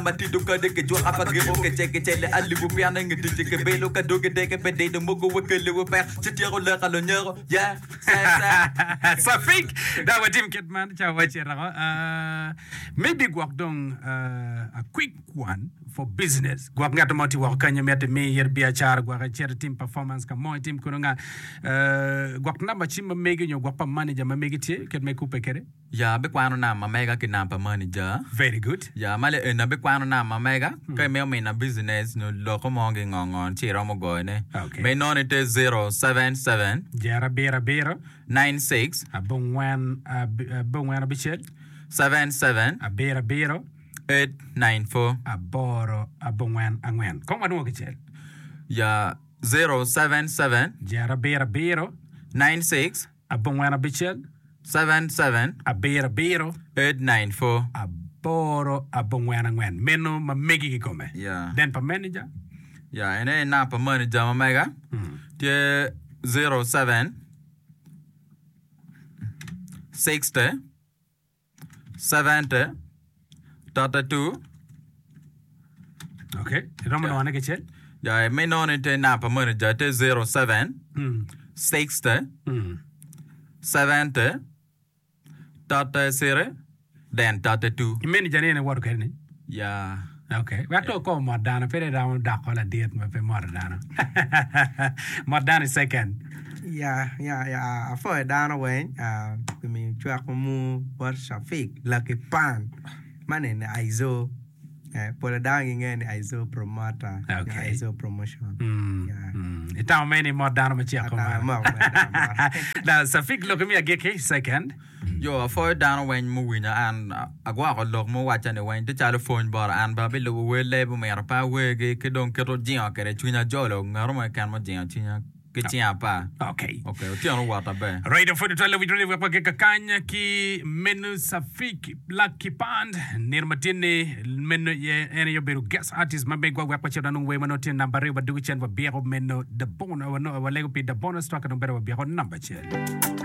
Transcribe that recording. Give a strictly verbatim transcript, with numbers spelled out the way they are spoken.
Matido kade ki jwaka pa giko ki cek ki cele alibu piane ngi tic ki belo ka dogi deke pe dido mogo we kele we pek ci tyeko leka lunyeko yeah se se. Safik dok watim kit man ca wacito oko. Uh, maybe gwok dong uh, a quick one for business. Gwok ngat mo tye woko kanyo mito imi it biacara gwok icito itim performance ka mo itim kono nga uh, gwok namba cim ma megi nyo gwok pa manager ma megi tye kit me kubbe kwede. Ya abikwano namba mega ki namba pa manager. Very good. Ya ma le eni abikwano namba mega ka imito mina business nyo loko mo gi ngo ngo ci iromo goyone. Okay. Me inongo ni tye zero seven seven Jero abiro abiro nine six abongwen ab- abongwen abicel seven seven abiro abiro eight nine four. aboro abongwen angwen. Kong wadwongo kicel. Ya zero seven seven Jero abiro abiro nine six abongwen abicel seven seven abiro abiro eight nine four. aboro abongwen angwen. Meno ma megi kikome. Ya. Then pa manager. Ya en aye namba pa manager ma mega tye zero seven sixty seventy thirty two Okay. Iromo Ya. nongone kicel. Ya me inongo ni tye namba pa manager tye zero seven Mm. sixty Mm. seventy thirty three then thirty two. Manager ni en iwoto kwede ni. Ya. Okay. Wek to ko mot dano pe dong romo doko ladit ma pe moto dano. Mot dano i second. Ya, ya, ya, apwoyo dano weng ah, pi miyo cwak mu bot Shafik Lucky Pan man eni Aizo eh, pol dano gingeyo ni Aizo promoter nyo Okay. Aizo promotion. Mm, Yeah. mm. Itamo me ni mot dano macek Atamo kumalo. moko me dano mot. Now, Safik lok mi agikki second. Yo apwoyo dano weng muwinyo an agwoko lok muwaca ni weng tye calo pwony bota an bene abilubo wel leb omyero pe awergi ki dong kit ojingo kwede cwinya jolo ngat mo keken mujingo cwinya ki cing apar. Okay. Okay, otyeno owot aber. Right, pwod twal winjo ni wek wagik kakany ki meno Safik Lucky Pand nino matye-ni meno ye en aye obedo guest artist ma megwa wek wacit wanong wer ma nongo tye namba aryo wadugo cen wabyeko meno the bonus walego pi the bonus track dong bene wabyeko namba acel.